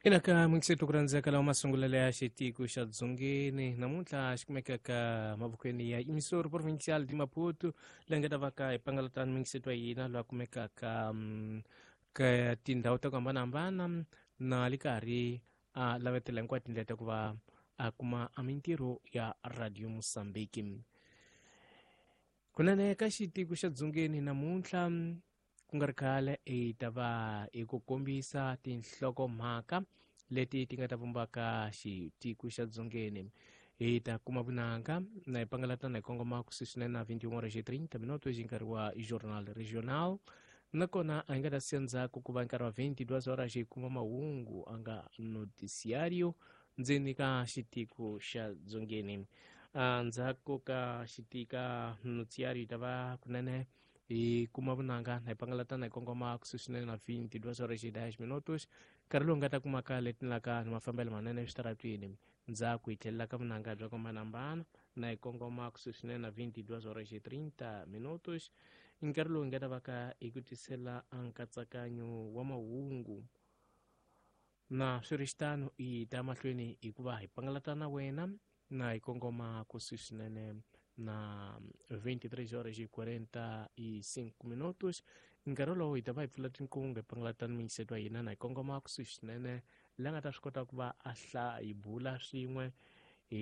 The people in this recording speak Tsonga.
Ina ka muyingiseri ku rhandzeka lawa masungulelo ya xitiko xa dzongeni namuntlha xi kumeka ka mavokweni ya emisoro provincial di Maputo leyi nga ta va ka hi pangalatani muyingiseri wa hina loyi a kumekaka ka tindhawu ta ku hambanahambana na le karhi a lavetela hinkwato tindlela ta ku va a kuma a mintirho ya Radio Mozambique. Kunene ka xitiko xa dzongeni namuntlha ku nga ri khale hi ta va hi ku kombisa tinhlokomhaka leti ti nga ta vumbaka xitiko xa dzongeni. Hi ta kuma vunanga na hi pangalatana hi kongoma kusuhi swinene na 21 horas e 30 minutos hi nkarhi wa Jornal Regional. Nakona a hi nga ta siya ndzhaku ku va nkarhi wa 22 horas hi kuma mahungu a nga noticiario ndzeni ka xitiko xa dzongeni. Ndzhaku ka xitika noticiario hi ta va kunene hi kuma vunanga na hi pangalatana hi kongoma kusuhi swinene na 22 horas e 10 minutos nkarhi lowu nga ta kumaka letinaka ni mafambelo manene eswitaratwini. Ndzhaku hi tlhelela ka vunanga bya ku hambanahambana na hi kongoma kusuhi swinene na 22 horas e 30 minutos nkarhi lowu hi nga ta va ka hi ku tisela nkatsakanyo wa mahungu. Na swi ri xitano hi ta mahlweni hikuva hi pangalata na wena na hi kongoma kusuhi swinene na 23 horas e 45 minutos nkarhi wolowo hi ta va hi pfula tinqingho hi pangalata ni muyingiseri wa hina na hi kongoma kusuhi swinene la nga ta swi kota ku va a hi bula swin'we.